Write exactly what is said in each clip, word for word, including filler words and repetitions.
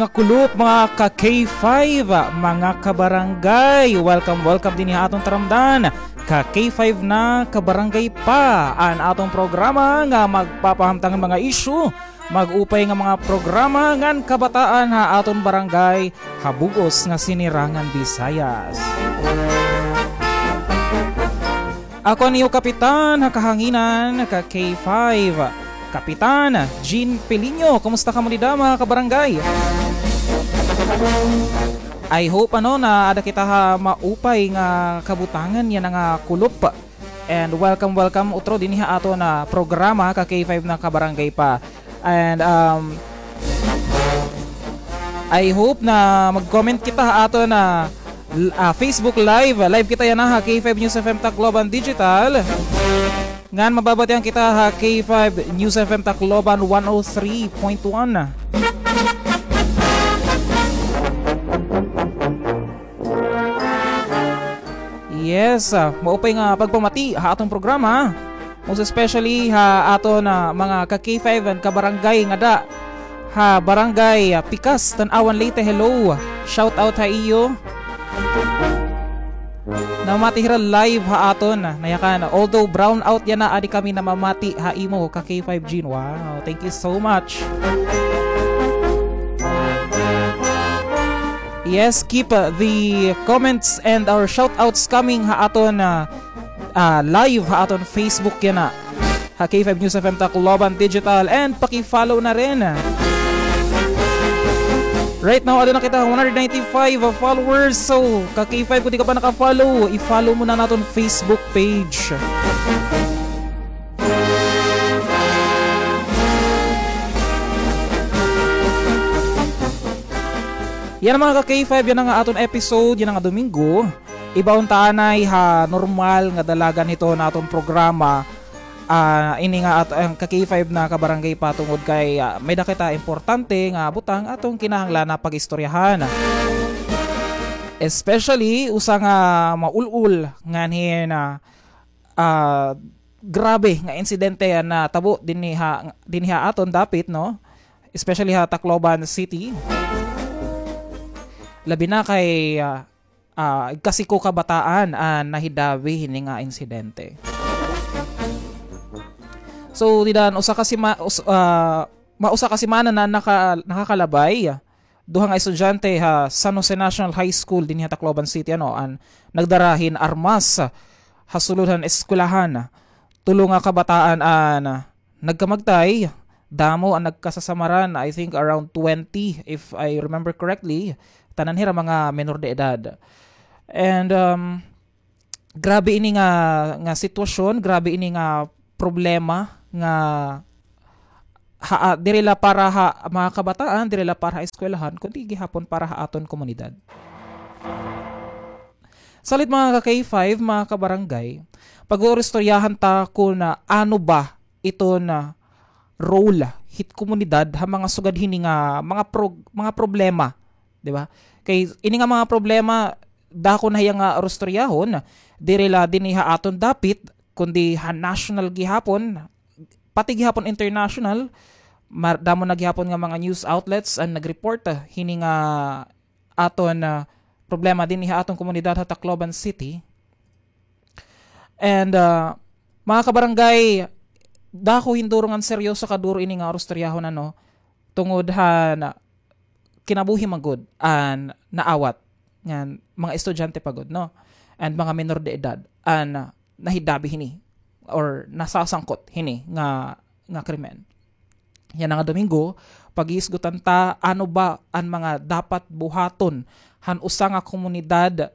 Nga kulop, mga ka K five, mga kabarangay, welcome, welcome dinhi ha aton taramdan. Ka K five na Kabarangay pa an aton programa nga magpapahamtang han mga isyu, mag-upay nga mga programa ngan kabataan ha aton barangay ha bug-os nga Sinirangan Visayas. Ako an iyo kapitan ha kahanginan, ka K five, Kapitan Jean Piliño. Kumusta kamo dida, mga kabarangay? I hope, ano, na ada kita ha maupay nga kabutangan yana nga kulop. And welcome, welcome utro dinhi ha aton programa, ka K five na Kabarangay pa. And, um, I hope na mag-comment kita ha aton, ah, l-, ah, Facebook Live. Live kita yana ha K five News F M Tacloban Digital. Ngan mababatian kita ha K five News F M Tacloban one oh three point one. Yes, ah, maupay nga pagpamati ha aton programa. Most especially ha aton, ah, mga ka K five ngan kabarangay ngada ha Barangay, ah, Pikas, Tanauan, Leyte. Hello. Shout out ha iyo. Namamati hira live ha aton, ah, Nayakan. Although brown out yana, adi kami namamati ha imo, ka K five Jean. Wow, thank you so much. Yes, keep, uh, the comments and our shoutouts coming ha aton, uh, uh, live ha aton Facebook yana, ha K five News F M Tacloban Digital, and paki-follow na rin. Right now, ada na kita one hundred ninety-five followers. So, ka K five, kung di ka pa naka-follow, i-follow mo na an aton Facebook page. Yana, mga ka K five, yana nga aton episode yana nga Domingo. Iba unta anay ha normal nga dalagan hito naton programa. Ah, ini nga at-, an ka K five na Kabarangay pa, tungod kay, ah, may-ada kita importante nga butang aton kinahanglan na pag-istoryahan. Especially usa nga maul-ol nganhi na, ah, grabe nga insidente an natabo dinhi ha, dinhi ha aton dapit, no? Especially ha Tacloban City. Labi na kay, ah, ah, igkasiko kabataan an nahidabi hini nga insidente. So, dida an usa ka sima-, us-, ah, mausa ka semana na naka-, nakakalabay, duha nga estudyante ha San Jose National High School dinhi ha Tacloban City, ano, an nagdara hin armas ha sulod han eskwelahan. Tulo nga kabataan an nagkamagtay, damo an nagkasasamaran, I think around twenty, if I remember correctly. Tanan hira mga menor de edad. And, um, grabe ini nga, nga sitwasyon, grabe ini nga problema nga ha, ah, diri la para ha mga kabataan, diri la para ha eskwelahan, kundi gihapon para ha aton komunidad. Salit, mga ka K five, mga kabarangay, pag-uuristoryahan ta kun ano ba iton role hit komunidad ha mga sugad hini nga mga prog-, mga problema, di ba? Kay ini nga mga problema, dako na hiya nga urustoryahon, diri la dinhi ha aton dapit, kundi ha national gihapon, pati gihapon international. Mar-, damo na gihapon nga mga news outlets an nag-report, ah, hini nga aton, ah, problema dinhi ha aton komunidad ha Tacloban City. And, ah, mga kabarangay, dako hinduro ngan seryoso kaduro ini nga urustoryahon, ano, tungod han kinabuhi man gud an naawat ngan mga estudyante pa gud, no? And mga menor de edad an nahidabi hini or nasasangkot hini nga, nga krimen. Yana nga Domingo, pag-iisgutan ta ano ba an mga dapat buhaton han usa nga komunidad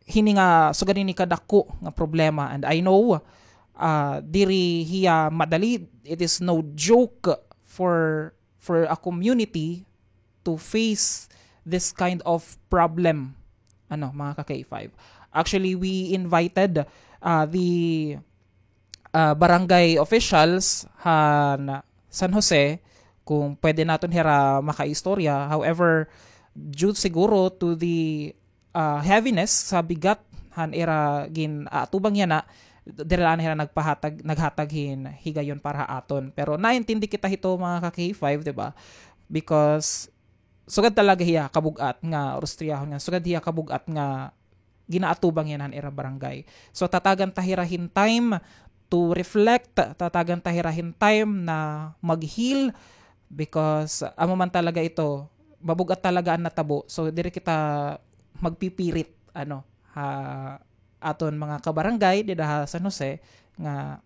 hini nga sugad hini kadako nga problema. And I know, ah, diri hiya madali. It is no joke for, for a community to face this kind of problem. Ano, mga ka K five. Actually, we invited, ah, the, ah, barangay officials han San Jose kung pwede naton hira makaistorya. However, due siguro to the, ah, heaviness, sa bigat han ira gin-aatubang yana, diri la hira nagpahatag, naghatag hin higayon para ha aton. Pero naintindi kita hito, mga ka K five, di ba? Because sugad talaga hiya kabug-at nga urustriyahon, ngan sugad hiya kabug-at nga ginaatubang yana han ira barangay. So, tatagan ta hira hin time to reflect, tatagan ta hira hin time na mag-heal, because amo man talaga ito, mabug-at talaga an natabo. So, diri kita magpipirit, ano, ha aton mga kabarangay dida ha San Jose nga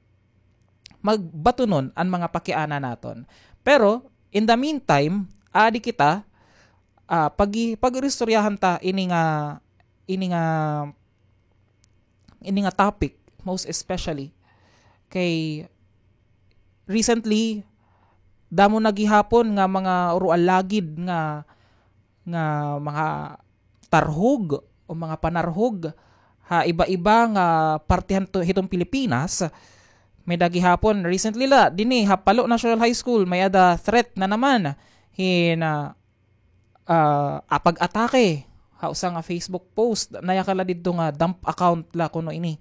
magbatunon an mga pakiana naton. Pero, in the meantime, adi kita, ah, pagi-, pag-iristoryahan ta ini nga, ini nga, ini nga topic, most especially kay recently, damo na gihapon nga mga urualagid nga, nga mga tarhog o mga panarhog ha iba-iba nga parte han to-, hiton Pilipinas. May-ada gihapon, recently la, dinhi ha Palo National High School, may-ada threat na naman hin, ah, ah, ah, pag-atake ha usa nga Facebook post. Nayakan la didto nga dump account la kuno ini.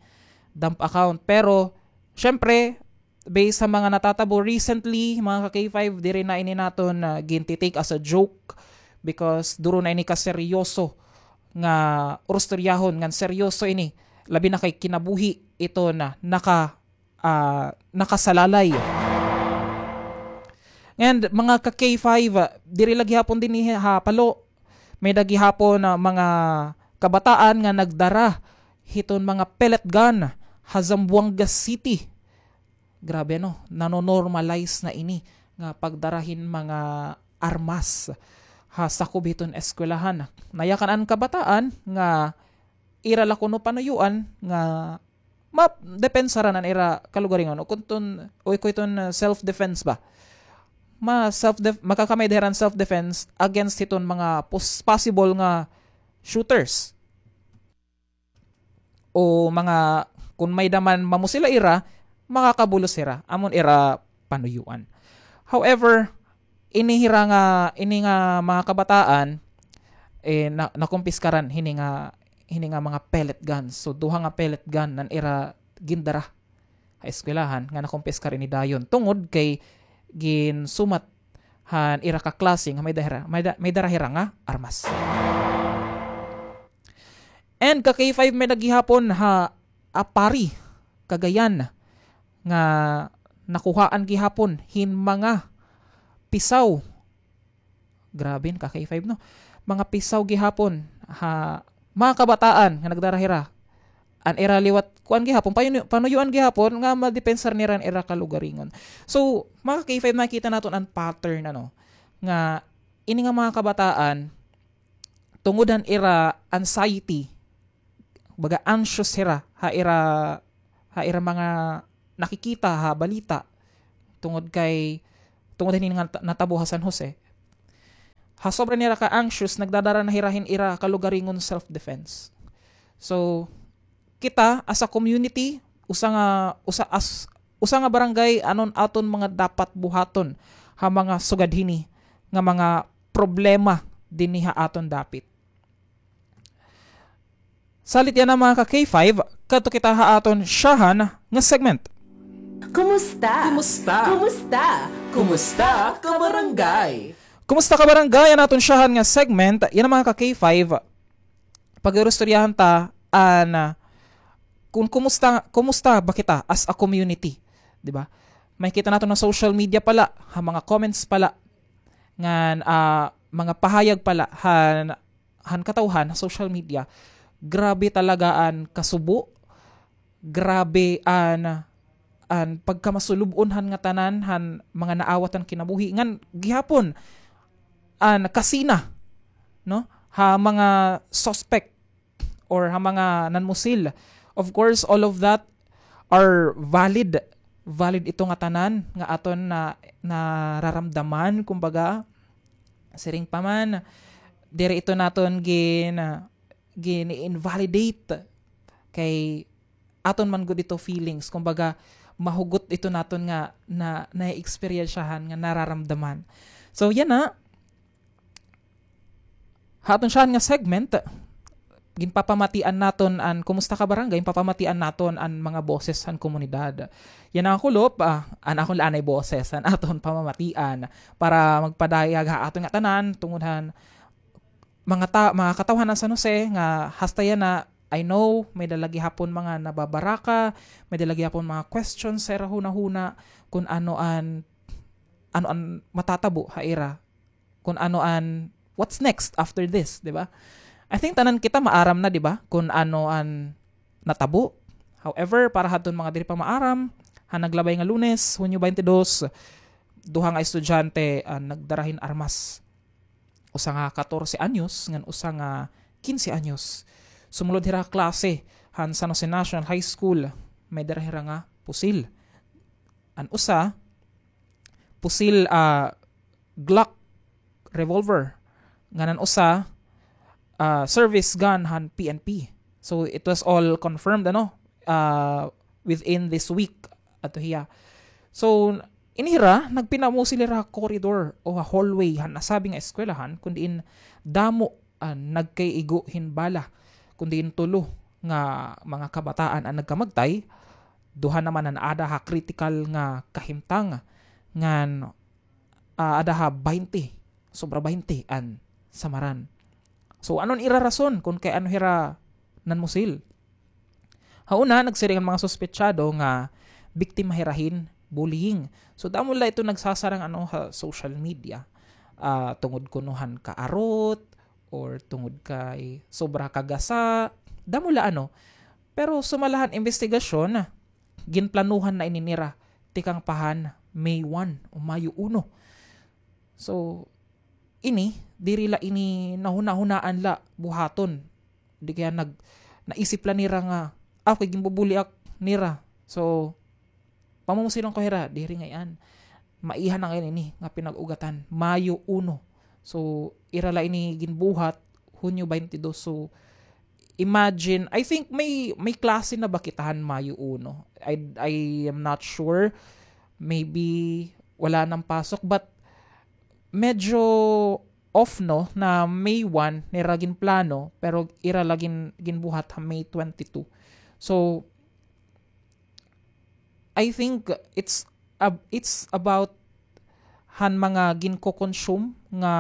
Dump account. Pero, syempre, based sa mga natatabo recently, mga ka-K five, diri na ini naton, ah, ginti-take as a joke because duro na ini kaseryoso nga urustoryahon, ngan seryoso ini, labi na kay kinabuhi ito na naka-, ah, nakasalalay. And mga ka-K five, ah, diri la gihapon dinhi ha Palo, may-ada gihapon, ah, mga kabataan nga nagdara hiton mga pellet gun ha Zamboanga City. Grabe, no? Nano-normalize na ini nga pagdara hin mga armas ha sakob hiton eskwelahan. Nayakan an kabataan nga ira la kuno panuyuan nga madepensaran an ira kalugaringon o kun ton, o kun iton, uh, self-defense ba. Ma self-def-, makakamay-ada hira hin self-defense against hiton mga pos-, possible nga shooters. O mga, kun may-ada man mamusila ira, makakabulos hira. Amo an ira panuyuan. However, ini hira nga, ini nga mga kabataan, eh, na-, nakumpiskaran hini nga, hini nga mga pellet guns. So, duha nga pellet gun an ira gindara ha eskwelahan nga nakumpiskar ini dayon tungod kay ginsumat han ira ka klase nga may dara, may da-, may dara hira nga armas. And ka K five, may-ada gihapon ha Aparri, Cagayan, nga nakuhaan gihapon hin mga pisaw. Grabe, ka K five, no? Mga pisaw gihapon ha mga kabataan nga nagdara hira. An ira liwat, kuan gihapon, payuno-, panuyuan gihapon nga madepensar nira an ira kalugaringon. So, mga ka K five, makita naton an pattern, ano, nga ini nga mga kabataan, tungod han ira anxiety, baga anxious hira ha ira, ha ira mga nakikita ha balita tungod kay, tungod hini nga nat-, natabo ha San Jose. Ha sobra nira ka anxious, nagdadara na hira hin ira kalugaringon self-defense. So, kita as a community, usa nga, usa as, usa nga barangay, ano an aton mga dapat buhaton ha mga sugad hini nga mga problema dinhi ha aton dapit. Salit yana, mga ka K five, kadto kita ha aton syahan nga segment. Kumusta? Kumusta? Kumusta? Kumusta ka barangay? Kumusta ka barangay, an aton syahan nga segment. Yana, mga ka K five, pag-iristoryahan ta an, ah, kun kumusta, kumusta ba kita as a community, di ba? Makikita naton ha social media pa la, ha mga comments pa la, ngan, ah, mga pahayag pa la han, han katawhan ha social media. Grabe talaga an kasubo, grabe an, an pagkamasulub-on han ngatanan han mga naawat han kinabuhi, ngan gihapon an kasina, no, ha mga suspect or ha mga nanmusil. Of course, all of that are valid. Valid ito ngatanan nga aton na, nararamdaman, kumbaga, siring pa man, diri ito naton gin-, gin-invalidate kay aton man gud ito feelings. Kumbaga, mahugot ito naton nga na, naeksperyensyahan, nga nararamdaman. So, yana, ha aton syahan nga segment, ginpapamatian naton an Kumusta Ka Barangay, ginpapamatian naton an mga boses han komunidad. Yana nga kulop, ah, an akon la anay boses, an aton pamamatian, para magpadayag ha aton ngatanan tungod han mga ta-, mga katawhan han San Jose nga hasta yana, I know, may-ada la gihapon mga nababaraka, may-ada la gihapon mga questions ha ira hunahuna kun ano an, ano an matatabo ha ira, kun ano an, what's next after this, di ba? I think tanan kita maaram na, di ba, kun ano an natabo. However, para hadton mga diri pa maaram, ha naglabay nga Lunes, Hunyo twenty-two, duha nga estudyante an nagdara hin armas. Usa nga katorse anyos ngan usa nga kinse anyos. Sumulod hira ha klase han San Jose National High School, may dara hira nga pusil. An usa, pusil, ah, Glock revolver. Ngan an usa, ah, service gun han P N P. So, it was all confirmed, ano, ah, within this week, ato hiya. So, ini hira, nagpinamusil hira ha corridor o ha hallway han nasabi nga eskwelahan, kun diin damo an nagkaigo hin bala, kun diin tulo nga mga kabataan an nagkamagtay, duha naman an aada ha kritikal nga kahimtang, ngan, ah, aada ha baynte, sobra baynte an samaran. So, ano an ira rason kun kay ano hira nanmusil? Ha una, nagsiring an mga suspetsado nga biktima hira hin bullying. So, damo la ito nagsasarang, ano, ha social media. Ah, tungod kuno han kaarot, or tungod kay sobra kagasa, damo la, ano. Pero sumala han imbestigasyon, ginplanuhan na ini nira tikang pa han May one o Mayo uno. So, ini, diri la ini nahunahunaan la buhaton. Di kaya nag-, naisip la nira nga, "Ah, kay ginbubuli ak nira." So, pamumusilon ko hira, diri ngay-an. Maiha na ngay-an ini nga pinag-ugatan, Mayo uno. So, ira la ini ginbuhat, Hunyo twenty-two. So, imagine, I think may, may klase na ba kita han Mayo uno? I, I am not sure. Maybe wala nang pasok, but medyo off, no, na May one nira ginplano, pero ira la gin-, ginbuhat ha May twenty-two. So, I think it's ab-, it's about han mga ginko-consume nga,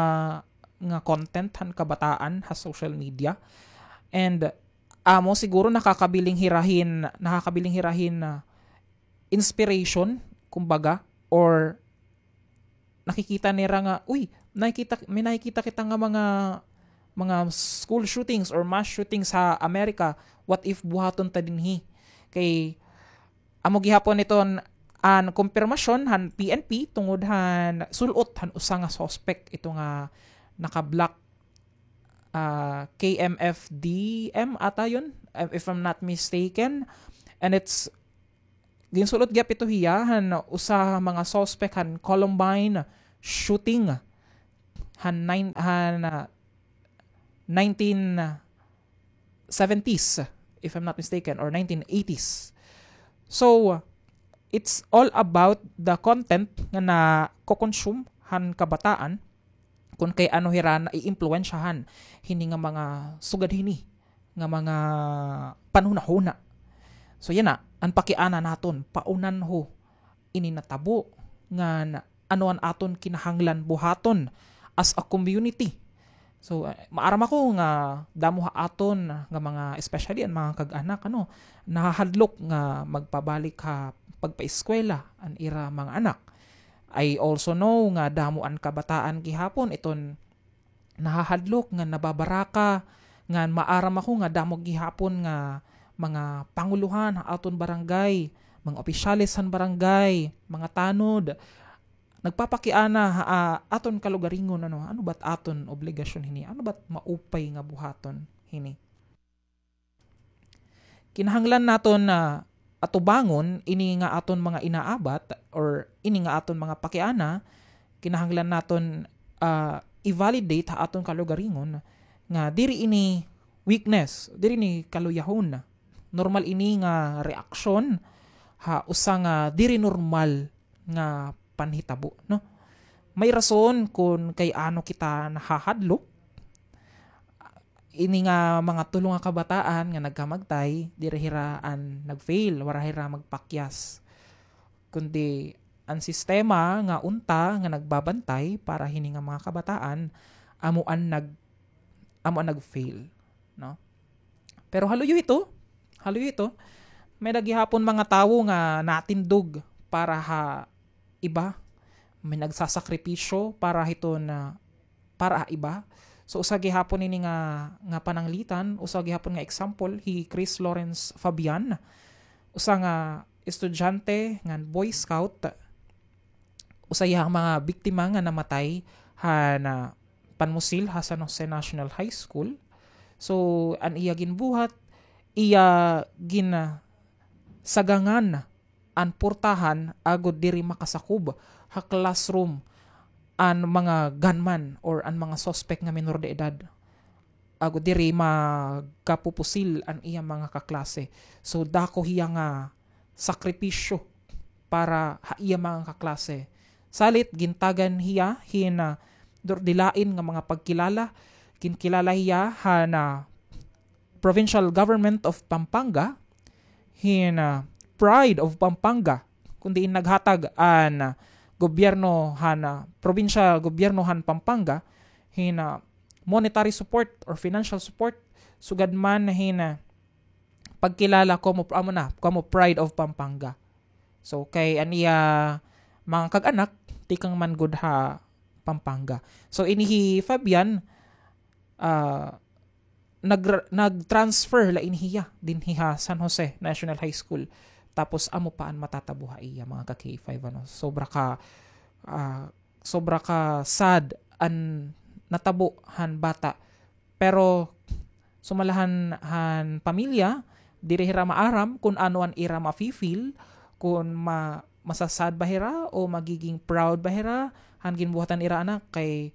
nga content han kabataan ha social media. And amo siguro nakakabiling hira hin, nakakabiling hira hin, ah, inspiration, kumbaga, or nakikita nira nga, "Uy, nakikita, may nakikita kita nga mga, mga school shootings or mass shootings ha Amerika. What if buhaton ta dinhi?" Kay amo gihapon iton an kumpirmasyon han P N P tungod han sul-ot han usa nga suspect, ito nga naka-black, ah, K M F D M ata yun, if I'm not mistaken. And it's Ginsul-ot gihap ito hiya han usa ha mga suspect han Columbine shooting han nine-, han, ah, nineteen seventies, if I'm not mistaken, or nineteen eighties. So, it's all about the content nga nako-consume han kabataan, kun kay ano hira naiimpluwensyahan hini nga mga sugad hini nga mga panhunahuna. So, yana, an pakiana naton, paunanho ini natabo, ngan ano an aton kinahanglan buhaton as a community. So, eh, maaram ako nga damo ha aton nga mga, especially an mga kag-anak, ano, nahahadlok nga magpabalik ha pagpaeskwela an ira mga anak. I also know nga damo an kabataan gihapon iton nahahadlok, nga nababaraka, ngan maaram ako nga damo gihapon nga mga pangulohan ha aton barangay, mga opisyales han barangay, mga tanod, nagpapakiana ha, ah, aton kalugaringon, ano, ano ba't aton obligasyon hini? Ano ba't maupay nga buhaton hini? Kinahanglan naton na atubangon ini nga aton mga inaabat or ini nga aton mga pakiana, kinahanglan naton, ah, i-validate ha aton kalugaringon nga diri ini weakness, diri ini kaluyahon. Normal ini nga reaksyon ha usa nga diri normal nga panhitabo, no? May rason kun kay ano kita nahahadlok. ini nga mga tulo nga kabataan nga nagkamagtay, diri hira an nag-fail, wara hira magpakyas. Kundi an sistema nga unta nga nagbabantay para hini nga mga kabataan, amo an nag-, amo an nag-fail, no? Pero haluyo ito, haluyo ito, may-ada gihapon mga tawo nga natindog para ha iba, may nagsasakripisyo para hiton, para ha iba. So, usa gihapon ini nga, nga pananglitan, usa gihapon nga example, hi Chris Lawrence Fabian, usa nga estudyante ngan Boy Scout, usa hiya han mga biktima nga namatay han, ah, panmusil ha San Jose National High School. So, an iya ginbuhat, iya ginasagangan an portahan agod diri makasakob ha classroom an mga gunman or an mga suspect nga minor de edad. Agod diri magkapupusil an iya mga kaklase. So, dako hiya nga sakripisyo para ha iya mga kaklase. Salit, gintagan hiya hin, ah, dur-, dilain nga mga pagkilala. Ginkilala hiya han, ah, Provincial Government of Pampanga, hin, ah, Pride of Pampanga, kun diin naghatag an, ah, gobyerno han, ah, probinsya gobyerno han Pampanga, hin, ah, monetary support or financial support, sugad man hin, ah, pagkilala komo, amo na, komo Pride of Pampanga. So, kay an iya mga kag-anak, tikang man gud ha Pampanga. So, ini hi Fabian, ah, nag-, nag-transfer la ini hiya dinhi ha San Jose National High School. Tapos, amo pa an matatabo ha iya, mga ka-K five, ano. Sobra ka, ah, sobra ka sad an natabo han bata. Pero sumala han, han pamilya, diri hira maaram kun ano an ira mafi-feel, kun ma-, masa-sad ba hira o magiging proud ba hira han ginbuhat han ira anak, kay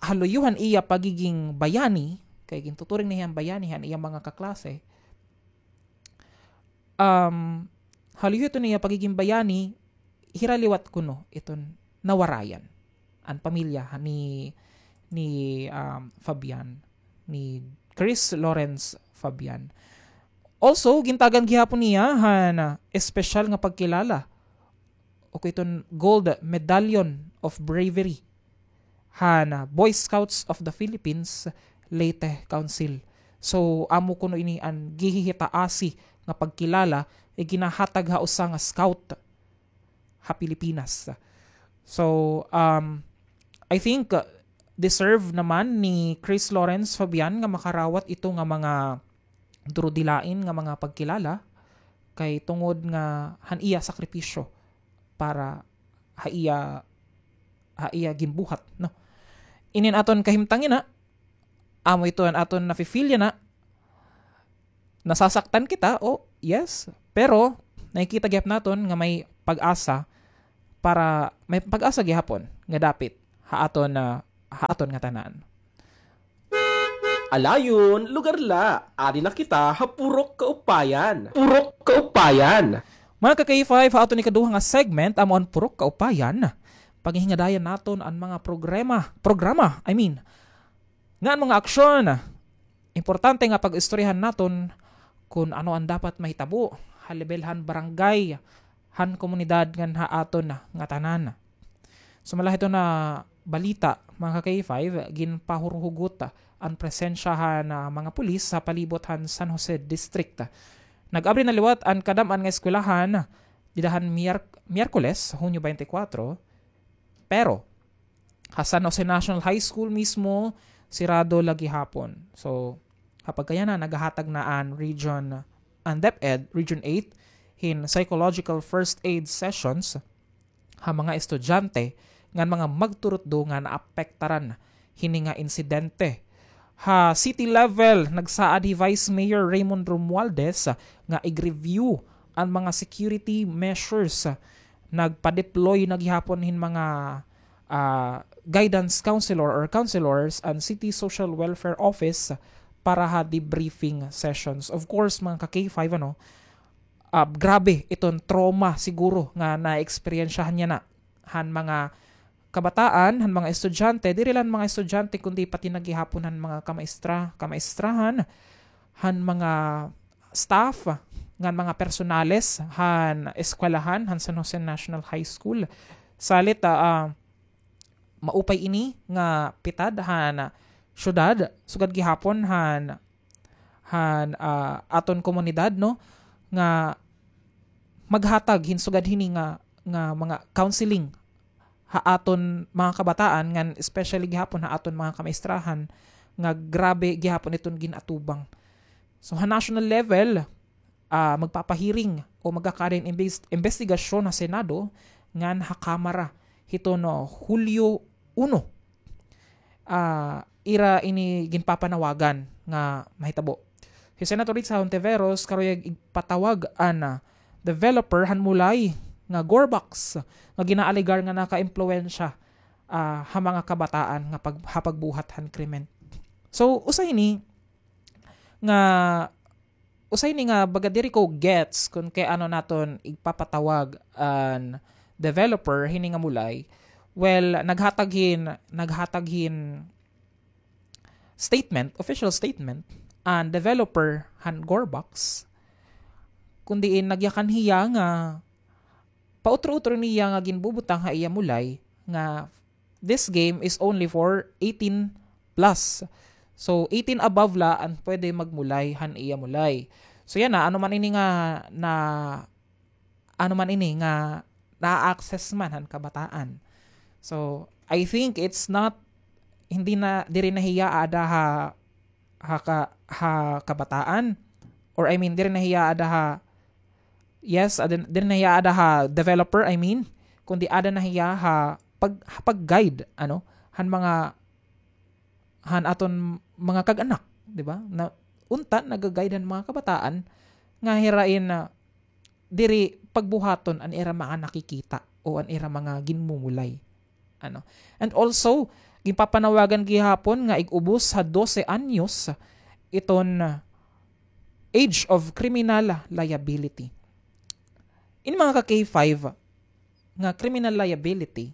haluyo han iya pagiging bayani, kay gintuturing na hiya bayani han iya mga kaklase. Um, haluyo iton iya pagiging bayani, hira liwat kuno iton nawarayan an pamilya ni, ni, um, Fabian, ni Chris Lawrence Fabian. Also, gintagan gihapon niya han, ah, espesyal nga pagkilala o iton Gold Medallion of Bravery han, ah, Boy Scouts of the Philippines Leyte Council. So, amo kuno ini an gihihitaasi nga pagkilala nga ginahatag ha usa nga scout ha Pilipinas. So, um, I think, uh, deserve naman ni Chris Lawrence Fabian nga makarawat ito nga mga durudilain nga mga pagkilala kay tungod nga han iya sakripisyo para ha iya, ha iya ginbuhat, no? Inin aton kahimtang yana, amo ito an aton nafi-feel yana. Nasasaktan kita, o, yes, pero nakikita gihap naton nga may pag-asa para, may pag-asa gihapon nga dapit ha aton, ah, ha aton ngatanan. Alayon, lugar la. Adi na kita ha Purok Kaupayan. Purok Kaupayan. Mga ka-K five, ha aton ikaduha nga segment, amo an Purok Kaupayan. Paghihingadayan naton an mga programa, programa, I mean, ngan mga aksyon. Importante nga pag-istoryahan naton kun ano an dapat mahitabo ha lebel han barangay, han komunidad ngan ha aton ngatanan. Sumala hiton nga balita, mga ka-K five, ginpahurhugot an presensya han, ah, mga pulis ha palibot han San Jose District. Nag-abri na liwat an kadam-an nga eskwelahan dida han Miyerk-, Miyerkules, Hunyo twenty-four, pero ha San Jose National High School mismo, sirado la gihapon. So, ha pagkayana, nagahatag na an region, an DepEd, Region eight, hin psychological first aid sessions ha mga estudyante ngan mga magturutdo nga naapektaran hini nga insidente. Ha city level, nagsaad hi Vice Mayor Raymond Romualdez nga ig-review an mga security measures. Nagpa-deploy na gihapon hin mga, ah, guidance counselor or counselors an City Social Welfare Office para ha debriefing sessions. Of course, mga ka-K five, ano, ah, grabe iton trauma siguro nga naeksperyensyahan niya na han mga kabataan, han mga estudyante, diri la han mga estudyante, kundi pati na gihapon han mga kamaestra-, kamaestrahan, han mga staff, ngan mga personales han eskwelahan han San Jose National High School. Salit, ah, ah, maupay ini nga pitad han syudad, sugad gihapon han, han, ah, aton komunidad, no, nga maghatag hin sugad hini nga, nga mga counseling ha aton mga kabataan, ngan especially gihapon ha aton mga kamaestrahan nga grabe gihapon iton gin-atubang. So, ha national level, ah, magpapahiring o magkakaada hin imbes-, imbestigasyon ha Senado ngan ha Kamara hiton Hulyo uno. Ah, ira ini ginpapanawagan nga mahitabo. Hi Senator Risa Hontiveros karuyag igpatawag an, ah, developer han Mulay nga Gorebox nga ginaalegar nga nakaimpluwensya, ah, ha mga kabataan nga pag-, ha pagbuhat han krimen. So, usa ini nga, usa ini nga baga diri ko gets kon kay ano naton igpapatawag an developer hini nga Mulay. Well, naghatag hin, naghatag hin statement, official statement, an developer han Gorebox, kun diin nagyakan hiya nga pautro-utro niya nga ginbubutang ha iya Mulay nga this game is only for eighteen plus. So, eighteen above la an pwede magmulay han iya Mulay. So, yana, ano man ini nga na, ano man ini nga na-access man han kabataan. So, I think it's not, hindi na, diri na hiya aada ha, ha ka-, ha kabataan, or I mean, diri na hiya aada ha, yes, aada, diri na hiya aada ha developer, I mean, kundi aada na hiya ha pag-, ha pag-guide, ano, han mga, han aton mga kag-anak, di ba? Na, unta, naga-guide han mga kabataan nga hira in, ah, diri pagbuhaton an ira mga nakikita o an ira mga ginmumulay. Ano? And also, ginpapanawagan gihapon nga ig-ubos ha dose anyos iton age of criminal liability. In mga ka-K five, nga criminal liability,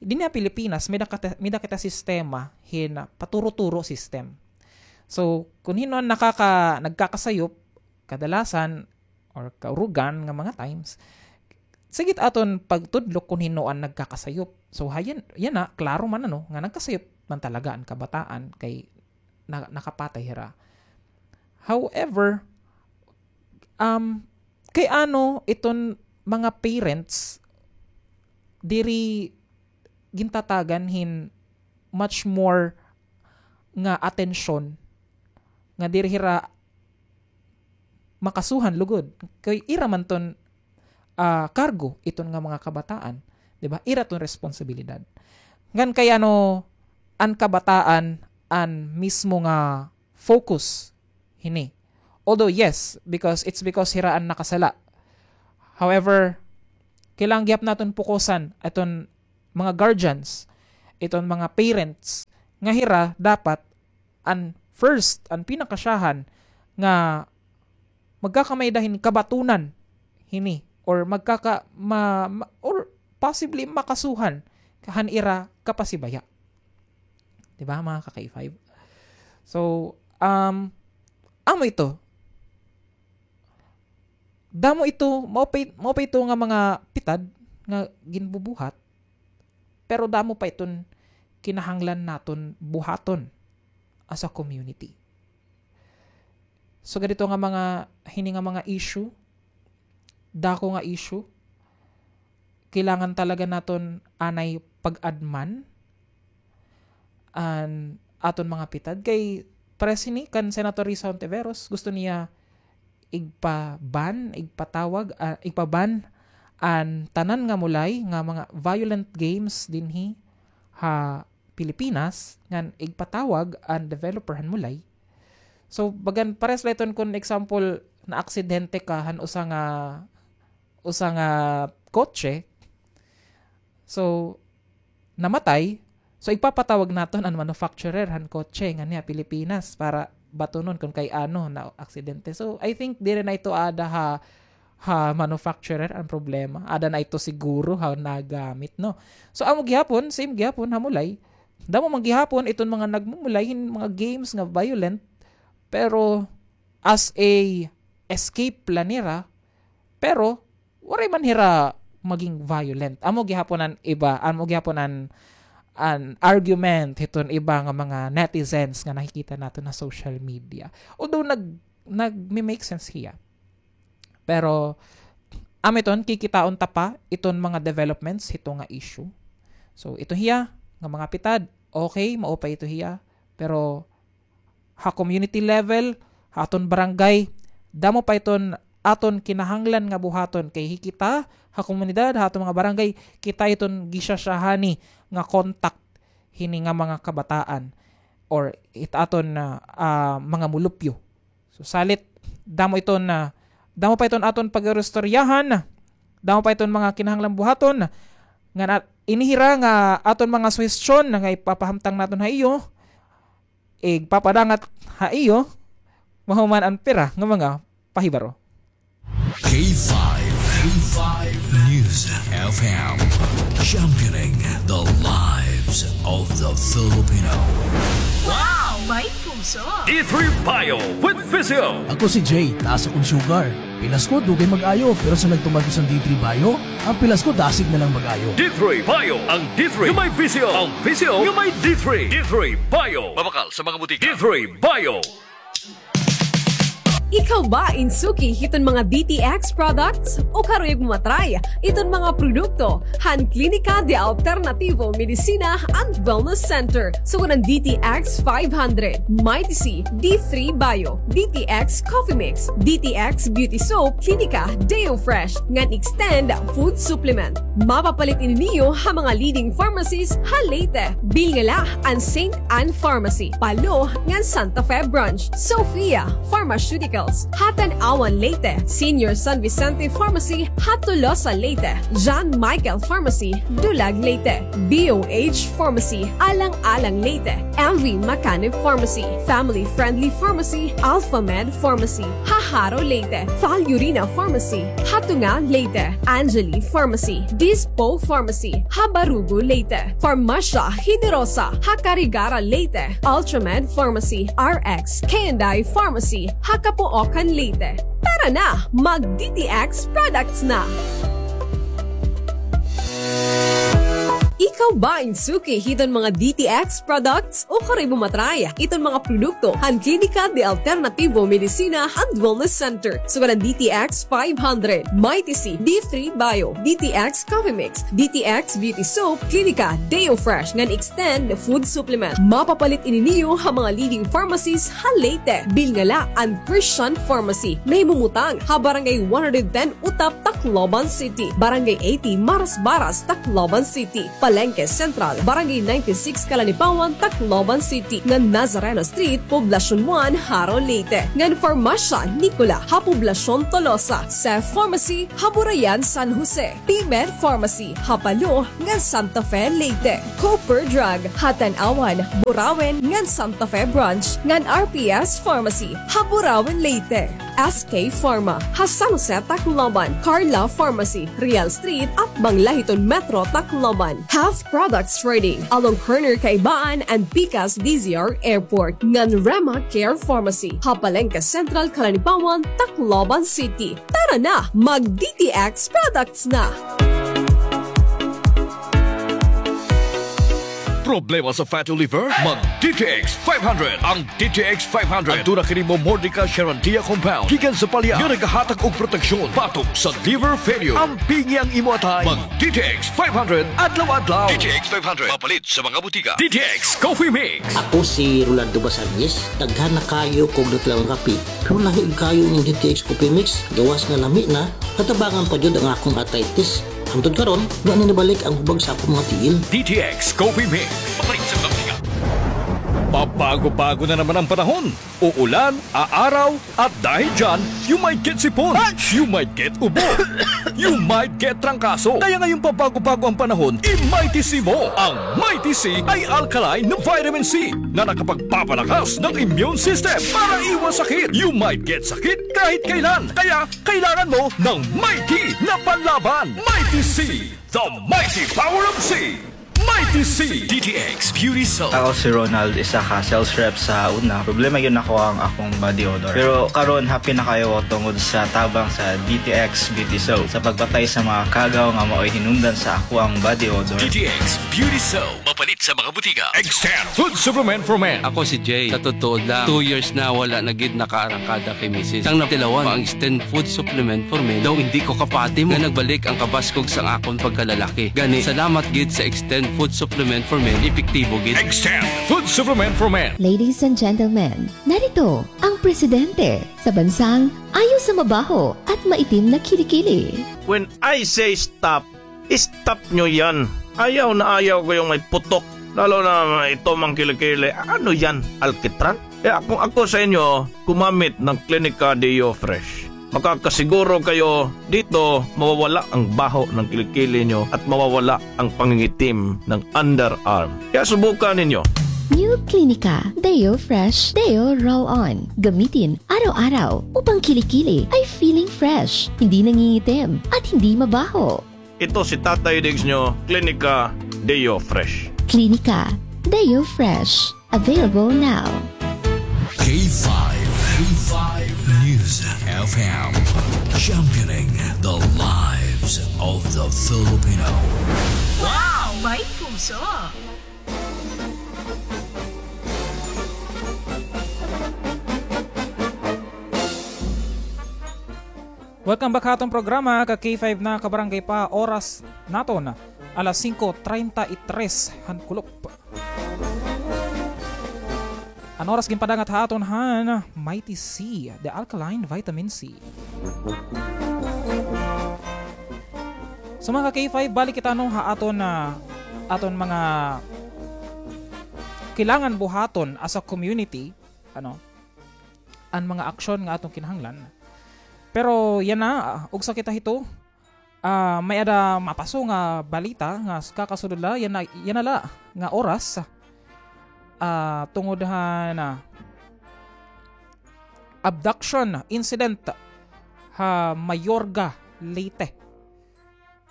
dinhi ha Pilipinas, may da kita, may da kita sistema hin paturo-turo system. So, kun hin-o an nakaka-, nagkakasayop, kadalasan, or kaurugan nga mga times, sige it aton pagtudlok kun hin-o an nagkakasayop. So, hayan, yana, klaro man, ano, nga nagkasayop man talaga an kabataan kay na-, nakapatay hira. However, um, kay ano iton mga parents diri gintatagan hin much more nga atensyon nga diri hira makasuhan lugod. Kay ira man ton, ah, kargo iton nga mga kabataan, di ba? Ira ton responsibilidad. Ngan kay ano, an kabataan an mismo nga focus hini. Although, yes, because it's because hira an nakasala. However, kailangan gihap naton pukusan iton mga guardians, iton mga parents, nga hira dapat an first, an pinakasyahan nga magkakamay-ada hin kabatunan hini, or magkaka-, ma-, ma-, or possibly makasuhan han ira kapasibaya. Di ba, mga ka-K five? So, um, amo ito. Damo ito, mao pa, mao pa ito nga mga pitad nga ginbubuhat, pero damo pa iton kinahanglan naton buhaton as a community. Sugad ito nga mga, hini nga mga issue, dako nga issue, kailangan talaga naton anay pag-adman an aton mga pitad. Kay pares hini kan Senator Risa Hontiveros, gusto niya igpa-ban, igpatawag, ah, igpa-ban an tanan nga mulay nga mga violent games dinhi ha Pilipinas, ngan igpatawag an developer han mulay. So, bagan pares la iton kun example, naaksidente ka han usa nga, usa nga kotse. So, namatay. So, igpapatawag naton an manufacturer han kotse nganhi ha Pilipinas para batunon kun kay ano naaksidente. So, I think diri na ito aada ha, ha manufacturer an problema. Ada na ito siguro ha nagamit, no? So, amo gihapon, same gihapon ha mulay. Damo man gihapon iton mga nagmumulay hin mga games nga violent, pero as a escape la nira, pero waray man hira maging violent. Amo gihapon an iba, amo gihapon an, an argument hiton iba nga mga netizens nga nakikita naton ha social media. Although nag-, nagme-make sense hiya. Pero, amo iton, kikitaon ta pa iton mga developments hito nga issue. So, ito hiya nga mga pitad, okay, maupay ito hiya. Pero, ha community level, ha aton barangay, damo pa iton aton kinahanglan nga buhaton kay hi kita ha komunidad, ha aton mga barangay, kita iton gisasyahani nga contact hini nga mga kabataan or it aton, ah, ah, mga mulupyo. So, salit, damo iton, ah, damo pa iton aton pag-iristoryahan, damo pa iton mga kinahanglan buhaton, nga na-, ini hira nga aton mga suhestyon nga ipapahamtang naton ha iyo, igpapadangat ha iyo, mahuman an pira nga mga pahibaro. K five, K five News F M, championing the lives of the Filipino. Wow! May puso! D three Bio with Physio. Ako si Jay, taas akong sugar. Pilas ko, dugay mag-ayo, pero sa nagtuman ko sa D three Bio, ang pilas ko, dasig na lang mag-ayo. D three Bio, ang D three nga may Physio, ang Physio nga may D three. D three Bio. Mabakal sa mga butika. D three Bio. Ikaw ba in suki hiton mga D T X products? O karuyag mo matry iton mga produkto han Klinika de Alternativo Medicina and Wellness Center, sugad han D T X five hundred, Mighty C, D three Bio, D T X Coffee Mix, D T X Beauty Soap, Klinika Deo Fresh, ngan Extend Food Supplement. Mapapalit ini niyo ha mga leading pharmacies ha Leyte. Bilngala an Saint Ann Pharmacy, Palo, ngan Santa Fe Branch. Sophia Pharmaceuticals, ha Tanauan, Leyte. Senior San Vicente Pharmacy, ha Tolosa, Leyte. John Michael Pharmacy, Dulag, Leyte. B O H Pharmacy, Alang-alang, Leyte. M V Macanib Pharmacy, Family Friendly Pharmacy, Alpha Med Pharmacy, ha Jaro, Leyte. Valurina Pharmacy, ha Tunga, Leyte. Angeli Pharmacy, Dispo Pharmacy, ha Barugo, Leyte. Farmasya Generosa, ha Carigara, Leyte. Ultramed Pharmacy, R X K and I Pharmacy, ha Capoocan, Leyte. Tara na, mag D T X products na! Ikaw ba in suki hiton mga D T X products? O karuyag mo matry iton mga produkto han Klinika de Alternativo Medicina and Wellness Center, sugad han D T X five hundred, Mighty C, D three Bio, D T X Coffee Mix, D T X Beauty Soap, Klinika Deo Fresh, ngan Extend Food Supplement. Mapapalit ini niyo ha mga leading pharmacies ha Leyte. Bilngala an Christian Pharmacy, nahimumutang ha Barangay one hundred ten Utap, Tacloban City, Barangay eighty Marasbaras, Tacloban City, Palengke Central, Barangay ninety-six Calanipawan, Tacloban City, ngan Nazareno Street, Poblacion one, Jaro, Leyte, ngan Farmasya Nicola ha Poblacion Tolosa, Sef Pharmacy ha Burayan, San Jose, P-Med Pharmacy ha Palo ngan Santa Fe, Leyte, Cooper Drug ha Tanauan, Burauen ngan Santa Fe Branch, ngan R P S Pharmacy ha Burauen, Leyte. S K Pharma ha San Jose, Tacloban, Carla Pharmacy, Real Street, atbang la hiton Metro Tacloban. Half Products Trading, along corner Kaibaan and Pikas D Z R Airport, ngan Rema Care Pharmacy ha Palengke Central, Calanipawan, Tacloban City. Tara na, mag D T X products na! Problema sa fatty liver? Mag D T X five hundred. Ang D T X five hundred, aduna kini Momordica charantia compound gikan sa palya nga nagahatag og proteksyon batok sa liver failure. Ampingi ang imo atay. Mag D T X five hundred adlaw-adlaw. D T X five hundred, mapalit sa mga butika. D T X Coffee Mix. Ako si Rolando Basangues, daghan na kaayo kog natural nga kape. Pero lahi kaayo ining D T X Coffee Mix, gawas nga lami na, natabangan pa jud ang akong arthritis. Hangtod karon, wa na nibalik ang hubag sa akong mga tiil. D T X Coffee Mix. Mapalit sa mga butika. Papa Bago-bago na naman ang panahon. Uulan, aaraw, at dahil dyan, you might get sipon, you might get ubo, you might get trangkaso. Kaya ngayong pabago-bago ang panahon, i-Mighty C mo. Ang Mighty C ay alkaline na vitamin C na nakapagpapalakas ng immune system para iwas sakit. You might get sakit kahit kailan. Kaya kailangan mo ng Mighty na panlaban. Mighty C, the mighty power of C. Mighty C. D T X Beauty Soap. Ako si Ronald, isa ka sales rep sa una. Problema gyud nako ang akong body odor. Pero karon, happy na kaayo ako tungod sa tabang sa D T X Beauty Soap sa pagpatay sa mga kagaw nga maoy hinungdan sa akoang body odor. D T X Beauty Soap. Mapalit sa mga butika. Extend Food Supplement for Men. Ako si Jay. Sa totoo lang, two years na wala na gid nakaarangkada kay misis. Sang natilawan, ang Extend Food Supplement for Men daw hindi ko kapati mo nga nagbalik ang kabaskog sang akon pagkalalaki. Gani, salamat gid sa Extend Food Supplement for Men, epektibo gid. Extend Food Supplement for Men. Ladies and gentlemen, narito ang presidente sa bansang ayaw sa mabaho at maitim na kilikili. When I say stop, stop nyo yan. Ayaw na ayaw ko yung may putok. Lalo na ito, mga kilikili. Ano yan? Alkitran? Kaya kung ako sa inyo, gumamit ng Clinica Deo Fresh. Makakasiguro kayo dito, mawawala ang baho ng kilikili nyo at mawawala ang pangingitim ng underarm. Kaya subukan ninyo. New Clinica Deo Fresh Deo Roll-On. Gamitin araw-araw upang kilikili ay feeling fresh, hindi nangingitim, at hindi mabaho. Ito si Tatay Diggs nyo, Clinica Deo Fresh. Clinica Deo Fresh. Available now. K five, K five News F M, championing the lives of the Filipino. Wow! May puso! Welcome back ha aton programa, ka K five na kabarangay pa. Oras naton, alas singko treinta y tres han kulop. An oras ginpadangat ha aton han Mighty C, the alkaline vitamin C. So, mga ka K five, balik kita, no, ha aton, ah, aton mga kailangan buhaton as a community, ano, an mga aksyon nga aton kinahanglan. Pero yana, ah, ugsa kita hito, ah, may-ada mapaso nga balita nga s-, kakasulod la, yana, yana la nga oras, ah, tungod han, ah, abduction incident ha Mayorga, Leyte.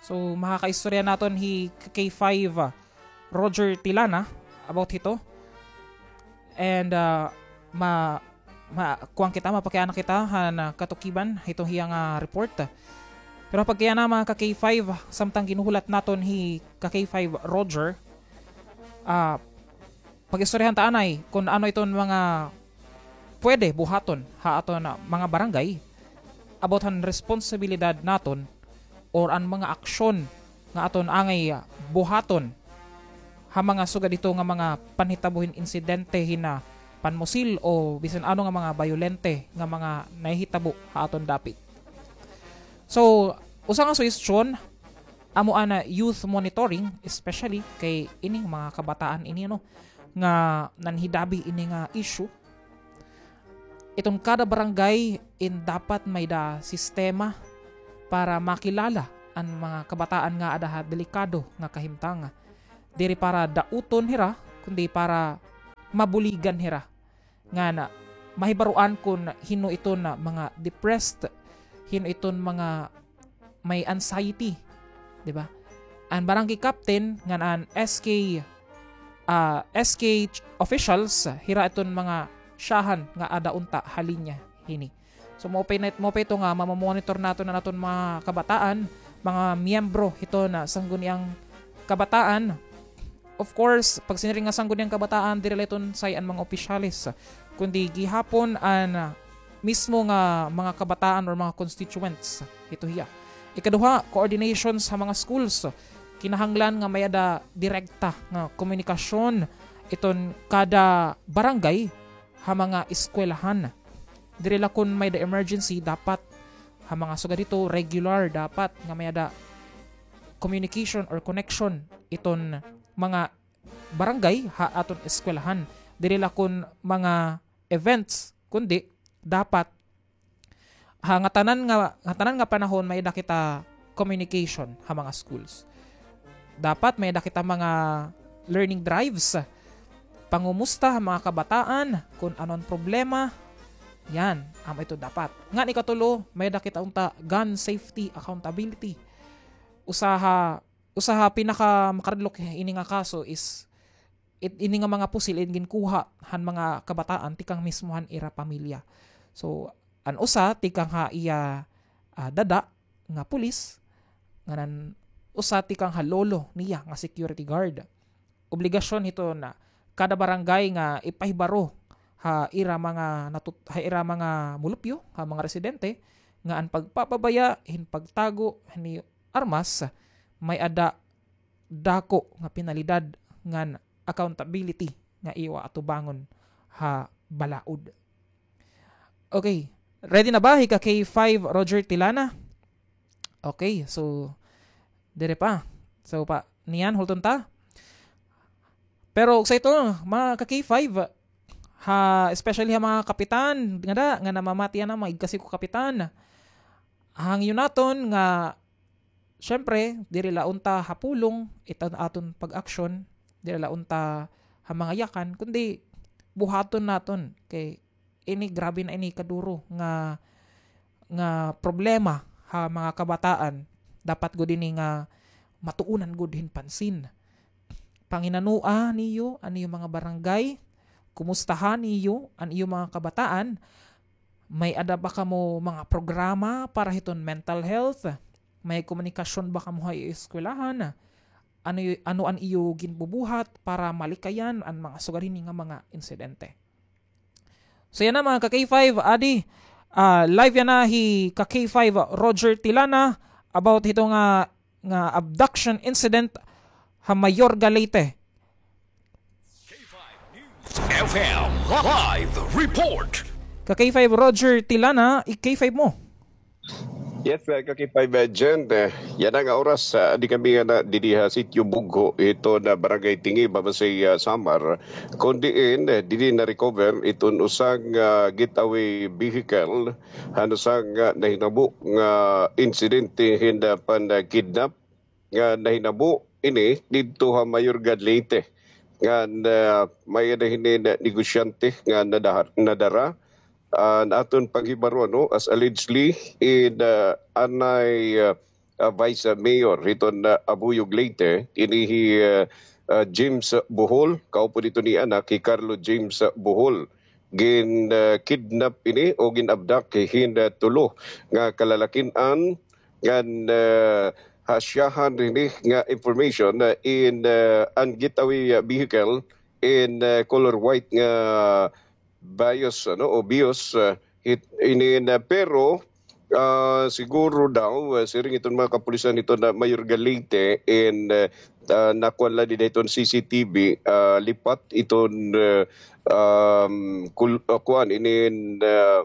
So, makakaistorya naton hi K five, ah, Roger Tilana about hito. And, ah, ma-, ma-, kuan kita, mapakiana kita han, ah, katukiban hiton hiya nga report. Pero pagkayana, mga ka K five, samtang ginhuhulat naton hi ka K five Roger, ah, pag-istoryahan ta anay kon ano iton mga pwede buhaton ha aton, ah, mga barangay about han responsibilidad naton or an mga aksyon nga aton angay, ah, buhaton ha mga sugad hito nga mga panhitabo hin insidente hin, ah, panmusil o bisan ano nga mga bayolente nga mga nahihitabo ha aton dapit. So, usa nga suhestyon, amo an, ah, youth monitoring, especially kay ining mga kabataan ini, ano, nga nanhidabi ini nga issue. Iton kada barangay in dapat may-ada sistema para makilala an mga kabataan nga aada ha delikado nga kahimtang. Diri para dauton hira, kundi para mabuligan hira. Ngan mahibaroan kon hin-o iton mga depressed, hin-o iton mga may anxiety, di ba? An barangay captain ngan an S K, ah, S K ch-, officials, hira iton mga syahan nga aada unta ha linya hini. So, maupay na, maupay ito nga mamamonitor naton an aton mga kabataan, mga miyembro hiton sangguniang kabataan. Of course, pag siniring nga sangguniang kabataan, diri la iton say an mga opisyales, kundi gihapon an, ah, mismo nga mga kabataan or mga constituents hito hiya. Ikaduha, coordination sa mga schools. Kinahanglan nga may-ada direkta nga komunikasyon iton kada barangay ha mga eskwelahan. Diri la kon may-ada emergency, dapat ha mga sugad hito, regular dapat nga may-ada communication or connection iton mga barangay ha aton eskwelahan. diri la kon mga events, kundi dapat ha ngatanan nga, ngatanan nga panahon may-ada kita communication ha mga schools. Dapat may-ada kita mga learning drives, pangumusta ha mga kabataan kon ano an problema. Yan, amo ito dapat. Ngan ikatulo, may-ada kita unta gun safety accountability. Usa ha, usa ha pinaka makaradlok ini nga kaso is it, ini nga mga pusil in ginkuha han mga kabataan tikang mismo han ira pamilya. So, an usa tikang ha iya, ah, dada nga pulis, ngan an usa tikang ha lolo niya nga security guard. Obligasyon hiton kada barangay nga ipahibaro ha ira mga natut-, ha ira mga mulupyo, ha mga residente, nga an pagpapabaya hin pagtago hini armas may-ada dako nga penalidad ngan accountability nga iyo atubangon ha balaod. Okay, ready na ba hi ka K five Roger Tilana? Okay, so, dire pa. So, pa, niyan, hulton ta. Pero, sa ito, mga ka K five, ha, especially ha mga kapitan, nga da, nga namamati yana, mga igkasi ko kapitan. Hangyo naton nga, syempre, diri la unta ha pulong, iton aton pag-aksyon, diri la unta ha mga yakan, kundi buhaton naton. Kay, ini grabe na ini kaduro nga, nga problema ha mga kabataan. Dapat gud ini nga matuonan gud hin pansin. Panginanoa niyo an iyo mga barangay, kumustaha niyo an iyo mga kabataan, may-ada ba kamo mga programa para hiton mental health? May komunikasyon ba kamo ha eskwelahan? Ano, ano an iyo ginbubuhat para malikayan an mga sugad hini nga mga insidente? So yana, mga ka K five, adi, ah, live yana hi ka K five Roger Tilana about hito nga, nga abduction incident ha Mayorga, Leyte. F M live report. Ka K five Roger Tilana, i-K five mo. Yes, uh, ka K five, uh, Jen, uh, yana nga oras, uh, adi kami yana didi ha Sitio Bugho, hiton, uh, Barangay Tingib, ha Basey, uh, Samar. Kon diin, uh, didi na-recover iton usa nga, uh, getaway vehicle, han usa nga, uh, nahinabo nga insidente hin, uh, pan-, uh, kidnap nga nahinabo ini didto ha Mayorga, Leyte. Ngan, ah, may-ada hini nga negosyante nga nadahar-, nadara. Ah, an aton paghibaro, no, as allegedly, in, ah, anay, ah, ah, Vice Mayor hiton, ah, Abuyog, Leyte, ini hi, ah, ah, James Bohol, kaupod hiton iya anak, hi Carlo James Bohol. Gin, ah, kidnap ini o gin-abduct hin, ah, tulo nga kalalakin-an ngan, ah, ha siyahan hini nga information, ah, in, ah, an getaway, ah, vehicle in, ah, color white nga Vios, ano, o Vios, ah, hit-, ini na, pero, ah, siguro daw, ah, siring iton mga kapulisan iton na Mayorga, Leyte, in, ah, ah, nakuan la dida iton C C T V, ah, lipat iton, ah, um, kul-, ah, kuan, inin, ah,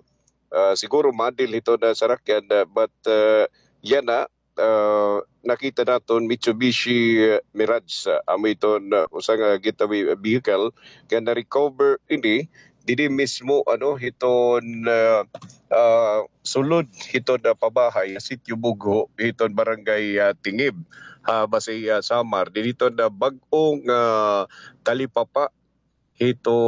ah, siguro model iton na sarakyan, ah, but, ah, yana, ah, nakita naton Mitsubishi, ah, Mirage, ah, amo iton, ah, usa nga getaway vehicle nga na-recover ini didi mismo, ano, hiton, ah, ah, sulod hiton, ah, pabahay, Sitio Bugho, hiton Barangay, ah, Tingib, ha Basey, ah, Samar. Didi hiton, ah, bag-ong, ah, talipapa hito